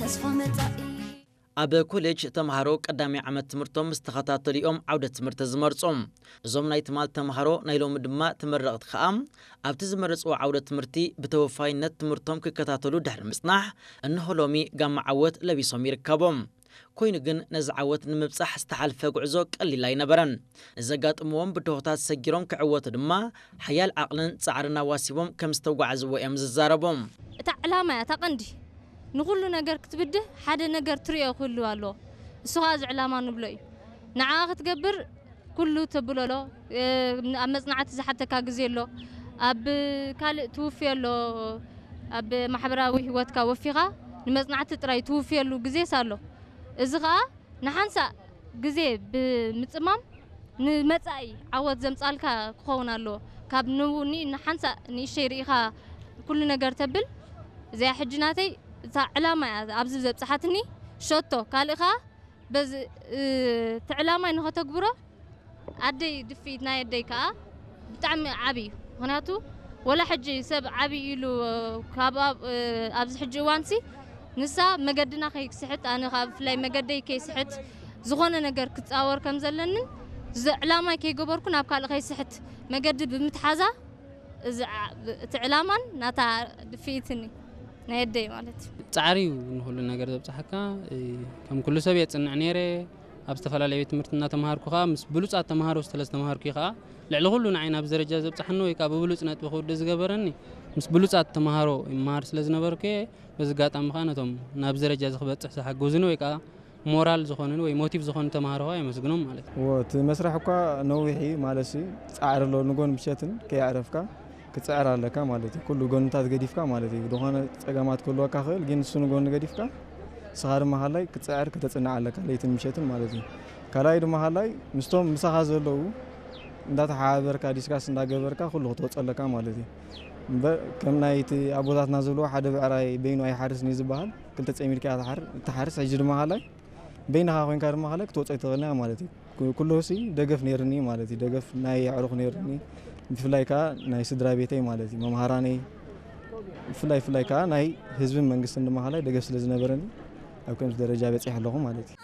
ተስፋ መጻኢ ኣብ ኮሌጅ ተምሃሮ ቀዳማይ ዓመት ትምህርቶም ምስ ተኸታተሉ እዮም ዓውደ ትምህርቲ ዝመርጹ። እዞም ናይ ትማል ተምሃሮ ናይ ሎሚ ድማ ተመረቕቲ ከኣ ኣብቲ ዝመረጽዎ ዓውደ ትምህርቲ ብተወፋይነት ትምህርቶም ክከታተሉ ድሕሪ ምጽናሕ እንሆ ሎሚ ጋማ ዓወት ለቢሶም ይርከቦም። ኮይኑ ግን ነዚ ዓወት ንምብጻሕ ዝተሓልፈ ጉዕዞ ቀሊል ኣይነበረን። ንዘጋጥምዎም ብድሆታት ሰጊሮም ክዕወቱ ድማ ሓያል ዓቕልን ጻዕርን ኣዋሲቦም ከም ዝተጓዓዝዎ እዮም ዝዛረቡ። እታ ዕላማ እያ እታ ቀንዲ። ንኹሉ ነገር ክትብድህ ሓደ ነገር ትሪኦ ክህሉ ኣለዎ። እሱ ኸዓ እዚ ዕላማ ንብሎ እዩ። ንዓኣ ክትገብር ኩሉ ተብሎ ኣሎ። ኣብ መጽናዕቲ ዝሓተካ ግዜ ኣሎ። ኣብ ካልእ ትውፍዮ ኣሎ። ኣብ ማሕበራዊ ህይወትካ ወፊኻ ንመጽናዕቲ ጥራይ ትውፍየሉ ግዜስ ኣሎ። እዚ ኸኣ ንሓንሳእ ግዜ ብምጽማም ንመጻኢ ዓወት ዘምጻልካ ክኸውን ኣለዎ። ካብ ንውኒ ንሓንሳእ ንእሽተይ ርኢኻ ኩሉ ነገር ተብል። እዚኣ ሕጂ ናተይ እታ ዕላማ እያ ኣብዚ ዘብጽሓትኒ። ሸቶ ካልእ ኸኣ በዚ እቲ ዕላማይ ንኸተግብሮ ኣደይ ድፍኢት ናይ ኣደይ ከኣ ብጣዕሚ ዓቢ እዩ። ምኽንያቱ ወላ ሕጂ ሰብ ዓቢ ኢሉ ካብ ኣብ- ኣብዚ ሕጂ እዋንሲ ንሳ መገድና ከይስሕት፣ ኣነ ከኣ ብፍላይ መገደይ ከይስሕት ዝኾነ ነገር ክጻወር ከም ዘለንን እዚ ዕላማይ ከይገበርኩ ናብ ካልእ ከይስሕት መገዲ ብምትሓዛ እዚ ዓ- እቲ ዕላማን ናታ ድፍኢትኒ ናይ ኣደይ ማለት እዩ። ጻዕሪ እዩ ንኹሉ ነገር ዘብጽሓካ። እ፣ ከም ኩሉ ሰብ የጽንዕ ነይረ። ኣብ ዝተፈላለየ ቤት ትምህርቲ እናተምሃርኩ ከኣ ምስ ብሉጻት ተምሃሮ ስለ ዝተምሃርኩ እዩ ከኣ ልዕሊ ኩሉ ንዓይ ናብዚ ደረጃ ዘብጽሓኒ ወይ ከኣ ብብሉጽ ነጥቢ ክውድእ ዝገበረኒ ምስ ብሉጻት ተምሃሮ ይመሃር ስለ ዝነበርኩ እየ። በዚ ኣጋጣሚ ከኣ ነቶም ናብዚ ደረጃ እዚ ክበጽሕ ዝሓገዙኒ ወይ ከኣ ሞራል ዝኾኑኒ ወይ ሞቲቭ ዝኾኑ ተምሃሮ ከኣ የመስግኖም ማለት እዩ። እዎ፣ እቲ መስርሕ እኳ ነዊሕ እዩ ማለት እዩ። ጻዕሪ ኣሎ፣ ንጎን ምሸትን ከየዕረፍካ ክትጽዕር ኣለካ ማለት እዩ። ኩሉ ጎንታት ገዲፍካ ማለት እዩ። ዝኾነ ጸገማት ክህልወካ ክእል፣ ግን ንሱ ንጎኒ ገዲፍካ ንስኻ ድማ ሃላይ ክትጽዕር ከተጽንዕ ኣለካ ለይትን ምሸትን ማለት እዩ። ካልኣይ ድማ ሃላይ ምስቶም ምሳኻ ዘለዉ እንዳተሓባበርካ ዲስካስ እንዳገበርካ ኩሉ ክትወጾ ኣለካ ማለት እዩ። እምበር ከም ናይ እቲ ኣቦታትና ዝብልዎ ሓደ ብዕራይ በይኑ ኣይሓርስን እዩ ዝበሃል። ክልተ ጸሚድካ እያ ትሓር- እትሓርስ። ሕጂ ድማ ሃላይ በይንኻ ኮይንካ ድማ ሃላይ ክትወጾ ኣይትኽእልን ኢኻ ማለት እዩ። ኩ- ኩሉ ሲ ደገፍ ነይርኒ ማለት እዩ። ደገፍ ናይ ኣዕሩኽ ነይርኒ። ብፍላይ ከዓ ናይ ስድራ ቤተይ ማለት እዩ። መምሃራነይ ብፍላይ ፍላይ ከዓ ናይ ህዝብን መንግስትን ድማ ሃላይ ደገፍ ስለ ዝነበረኒ ኣብ ከምዚ ደረጃ በፂሐ ኣለኹ ማለት እዩ።